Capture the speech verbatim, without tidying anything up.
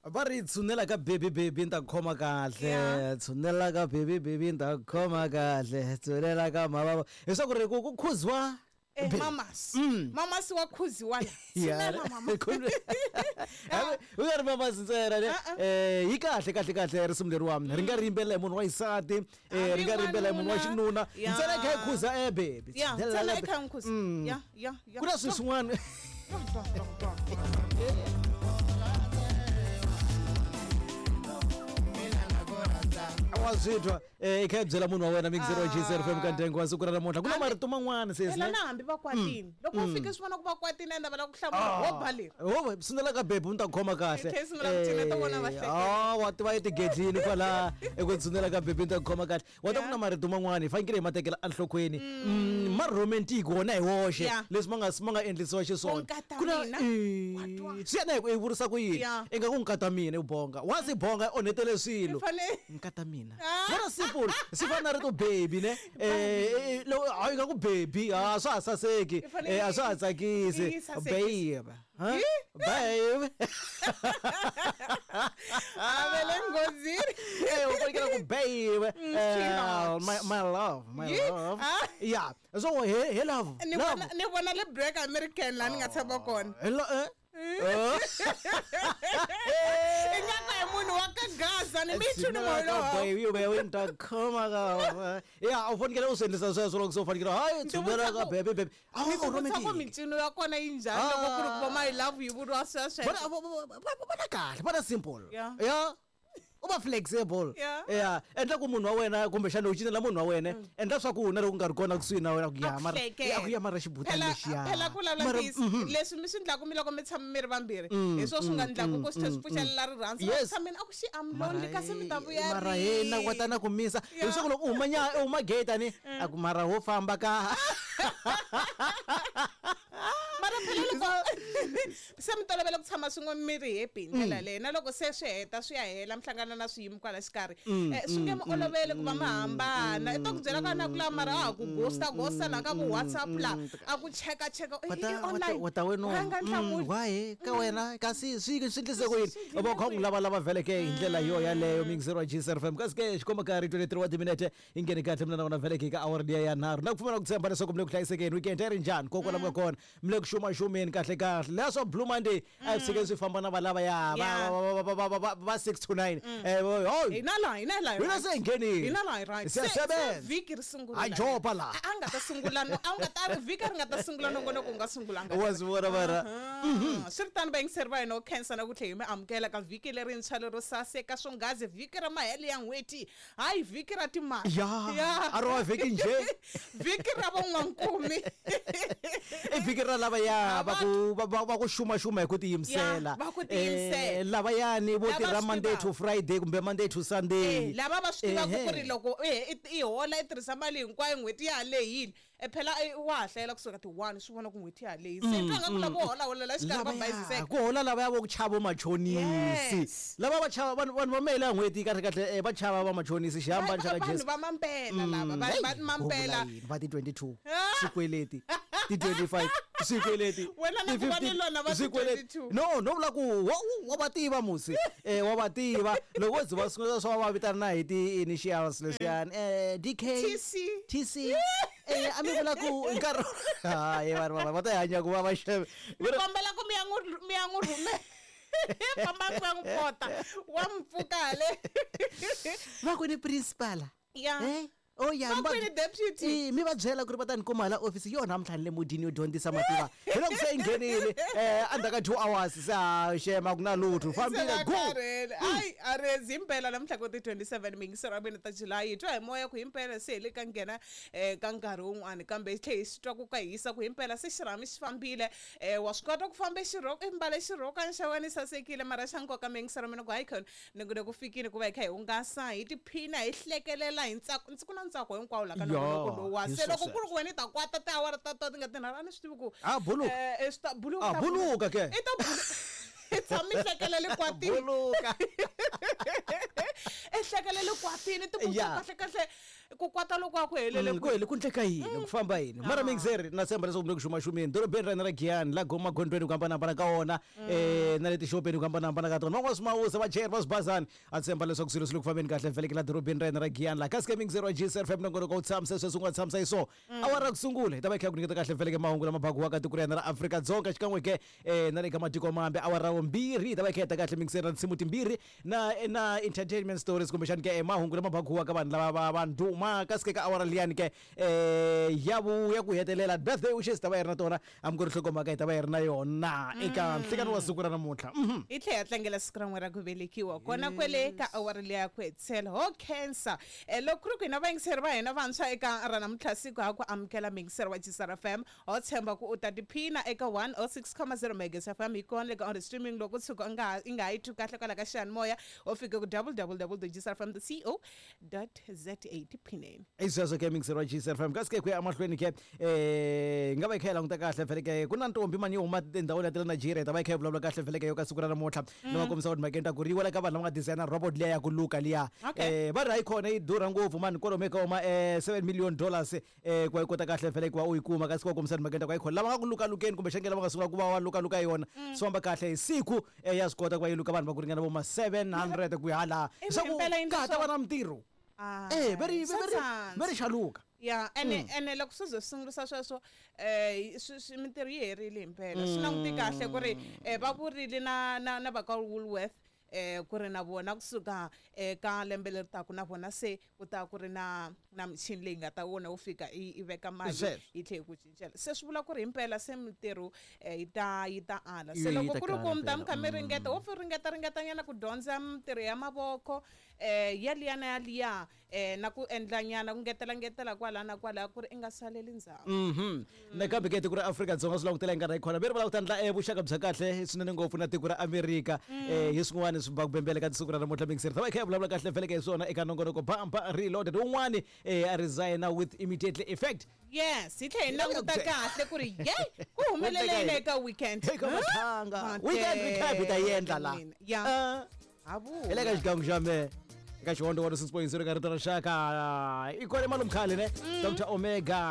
Va ri tshunela ka baby baby ni ta khoma kahle, tshunela ka baby baby ni ta khoma kahle, tshunela ka mavava, leswaku ri ku ku khuziwa Eh, mamas mamas wa khuziwa la, tshunela mama. U nga ri mamas ntsena ne, eh yi kahle kahle kahle risimu leriwani ri nga ri yimbelela hi munhu wa xisati, eh ri nga ri yimbelela hi munhu wa xinuna, ntsena i kha i khuza eh baby, ntsena i kha i khuza. Ya ya ya ku na swilo swin'wana. Wa swi twa eh i kha i byela munhu wa wena mix zero G zero F M ka ndyangu wa siku ra namuntlha ku na marito man'wana sesi phela na hambi va kwatini loko u fika swi vona ku va kwatini ende va lava ku hlamula ho ba leri ho sungula ka baby u ta khoma kahle ah wa tiva etigedlini kwala eku tshunela ka baby u ta khoma kahle wa ta ku na marito man'wana hi fanekele hi ma tekela enhlokweni ma romantic wona hi woxe leswi ma nga ma nga endlisiwa xiswona ku na swi yena hi vurisa ku yini i nga ku nkata mina u bonga wa si bonga onhetele swilo nkata mina vona simple swi fana na rito baby ne eh loko a nga ku baby a swa ha saseki a swa ha tsakisi babe ha babe a vele ngozini eh u fanekele ku babe my my love my love yeah so he he love ni vona ni vona le break American la ni nga tshama kona hello eh ingaku hi munhu wa ka Gaza ni michunu molo baby u be ta khoma ka ya u fanekele u swi endlisa sweswo loko se u fanekele hayi tshunela ka baby baby a wu romantic ku mincino ya kona yi njhani loko ku ri ku va my love yi vuriwa sweswo vona kahle vona simple ya u va flexible ya endla ku munhu wa wena kumbexana u cinela munhu wa wena endla swa ku na loko u nga ri kona kusuhi na wena ku ya mara ya ku ya mara xibutani lexiya phela ku vulavula ntiyiso leswi mi swi endlaku mi loko mi tshama mi ri vambirhi hi swo swi nga endlaku ku swi tlhe swi pfuxelela rirhandzu va tshameni a ku xi am lonely kasi mi ta vuya mara yena kota na ku misa leswaku loko u huma nya u huma gate ani a ku mara ho famba ka mara phela loko se mi tolovela ku tshama swin'we mi ri happy hi ndlela leyi na loko se swi heta swi ya hela mi hlangana na swiyimo kwala xikarhi swi nge mi olovele ku va mi hambana i ta ku byela ka na ku la mara a ha ku ghosta ghosta la ka ku WhatsApp la a ku cheka cheka online wa ta wena why ka wena kasi swi swi endlise ku yini va kha n'wi lava lava veleke hi ndlela yo yaleyo mix zero G zero F M kasi ke xikomba ka ri twenty-three wa timinete yi nghene kahle mina na wena veleke ka awara liya ya nharhu na ku pfumela ku tshemba leswaku mi le ku hlayisekeni weekend yi ri njhani koko la mi nga kona mi le ku xumaxumeni kahle kahle leswo Blue Monday a hi tshikeni swi famba na valava ya va va six to nine eh ho hina la hina la hina se nghenile hina la right se vhiki ri sungula a jopa la a nga ta sungula no a nga ta ri vhiki ri nga ta sungula nongonoko u nga sungulanga wa swi vona mara swi ri tano vayingiseri va hina u khensa na ku tlhela hi mi amukela ka vhiki lerintshwa lero saseka swongazi vhiki ra mahelo ya n'hweti hayi vhiki ra timali ya a ro va vhiki njhe vhiki ra van'wankumi i vhiki ra lava ya va ku va ku xumaxuma hi ku tiyimisela va ku tiyimisela lavayani vo tirha Monday to Friday kumbe Monday to Sunday lava va swi tivaka ku ri loko i hola i tirhisa mali hinkwayo n'hweti ya ha lehile phela wa ha hlayela kusuka ti one swi vona ku n'hweti ya ha lehile se twa nga ku lava hola hola la xikarhi va bayiziseka ku hola lava ya vo ku chava machonisi lava va chava vanhu vanhu va mele ya n'hweti kahle kahle va chava va machonisi xihambano xa ka Jesu vanhu va mampela lava va mampela va ti twenty-two swikweleti ti twenty-five swikweleti wena na ku va ni lona va ti twenty-two no no vula ku wa va tiva musi eh wa va tiva loko zi va sungula swa va vitana na hi ti initials leswiyani eh D K T C T C eh a mi vula ku nkarhi hayi vanhu va va ta hanya ku va va xeve mi kombela ku mi ya n'wi mi ya n'wi rhumela famba ku ya n'wi pota wa mpfuka le va ku ni principal ya eh oh ya va kwini deputy eh mi va byela ku ri va ta ni kuma hala office yona namuntlha ni le mudini yo dyondzisa mativa hi loko se yi nghenile eh endzhaku ka two hours se ha xema ku na lutho fambile go ai a ri impela namuntlha ku ti twenty-seven mingisero wa mina ta July hi twa hi moya ku himpela se hi le ka nghena eh ka nkarhi wun'wani kambe hi tlhe hi swi twa ku ka hisa ku himpela se xirhami xi fambile eh wa swi kota ku famba xirhoko i mbale xirhokwana xa wena sasekile mara xa nkoka mingisero mina ku hayi khona ni ku ku fikile ku va hi kha hi hungasa hi tiphina hi hlekelela hi ntsako ndzi ku na ntsako hinkwawo la ka nongonoko lowu wa se loko ku ri ku wena i ta kwata tiawara ta to ti nga tinharhu a ni swi tivi ku a buluka eh swi ta buluka a buluka ke i ta buluka i tshama i hlekelele kwatini buluka i hlekelele kwatini ti ku kahle kahle ku kwata loko a ku helele Mm, ku hele ku ndleka yini ku famba yini mara mixer na tshemba leswaku mi le ku xumaxumeni dorobeni ra hina ra giyani la goma gondweni ku hambanahambana ka wona um na le tixopeni ku hambanahambana ka tona van'wana swimawusa vachayeri va swibazani a tshemba leswaku swilo swi le ku fambeni kahle vheleke la dorobeni ra hina ra giyani la kasi ke mixer wa g f m nongonoko wu tshamisa sweswi u nga tshamisa hi so awara ku sungula hi ta va hi kha hi ku nyiketa kahle vheleke mahungu lama bakiwaka tiko ra hina ra Afrika-Dzonga xikan'we ke um na le ka matiko mambe awara vumbirhi hi ta va hi kha hi heta kahle mixer na tinsimu timbirhi na na entertainment stories kumbexani ke eh, mahungu lama bakiwaka vanhu lava va va ndhuma kasi ke ka awara liyani ke um ya vu ya ku hetelela birthday wishes ta va hi ri na tona hambi ku ri nhlokomhaka hi ta va hi ri na yona eka nhlikani wa siku ra namuntlha Mhm. hi tlhela hi tlangela siku ra n'we ra ku velekiwa kona kwele ka awara liya ya ku hetisela ho khensa um loko ku ri ku hina vayingiseri va hina vantshwa eka ra namuntlha siku ha ku amukela muyingiseri wa G S R F M, ho tshemba ku u ta tiphina eka one oh six comma zero Megas F M. Hi kona le ka on the streaming. Loko u tshuka u nga ha- i nga ha yi twi kahle kwala ka xiyanimoya, ho fika ku W W W G S R F M co za tiphineni. I sweswo ke mixer wa G S F M. Kasi ke ku ya emahlweni ke um nga va hi kha hi languta kahle vhele ke ku na ntombi mani yo huma tindhawini ya ta le Nigeria, hi ta va hi kha hi vulavula kahle vhele ke yo ka siku ra namuntlha ni va kombisa ku timhakeni ta ku ri yi wela ka vanhu lava nga designer robot liya ya ku luka liya. Okay. um va ri hayi khona yi durha ngopfu mani, kwalomu ka huma um seven million dollars um ku va yi kota kahle vhele ku va u yi kuma. Kasi ku va kombisa timhakeni ta ku hayi khona lava nga ku lukalukeni kumbexani ke lava nga sungula ku va va lukaluka yona swi famba kahle hi siku um ya swi kota ku va yi luka vanhu va ku ringana vo ma seven hundred ku ya hala Ivi swa ku himpela yi endla ka ha ta va swo- na mintirho. Ah, Eh, ve ri swa ve ri tsandza. ve ri xaluka. Ya, ene ene loko swi ze swi sungurisa sweswo um swi swi- mintirho yi herile himpela. Swi languti kahle ku ri um va vurile na na na va ka Woolworth um ku ri na vona kusuka eka lembe leri taka na vona se ku ta ku ri na na michini leyi nga ta wona wo fika i i veka mali Sweswo. yi tlhe yi ku cincela. Se swi vula ku ri himpela se mintirho um yi ta yi ta ala. Yi- Se yi loko ta ku ri kala ku mi ta mi phela. kha mi ringeta, wo fi ringeta ringetanyana ku dyondza mintirho ya mavoko um ya liya na ya liya um na ku endla nyana ku ngetela ngetela kwala na kwala ku ri i nga saleli ndzhaku. Mhm. Nakambe ke tiko ra Afrika-Dzonga swi langutela hi nkarhi hi khona ve ri va lava ku ta endla eh, vuxaka bya kahle swinene ngopfu na tiko ra Amerika um hi swin'wana swi bakubembele ka siku ra namuntlha. Mixer ta va hi kha hi vulavula kahle vheleke hi swona eka nongonoko Bamba Reloaded. Un'wani um a resigna with immediately effect. Yes, hi tlhe hi Hi lava languta ku byela. kahle ku ri ye ku humelele eka weekend. Eka Huh? mathanga weekend recap hi ta yi endla la. Mina. Ya. Ah. Ha Hi le ka xigangu xa me eka xihondo one six point zero ka rito ra rixaka i kona malume khale ne Doctor Omega.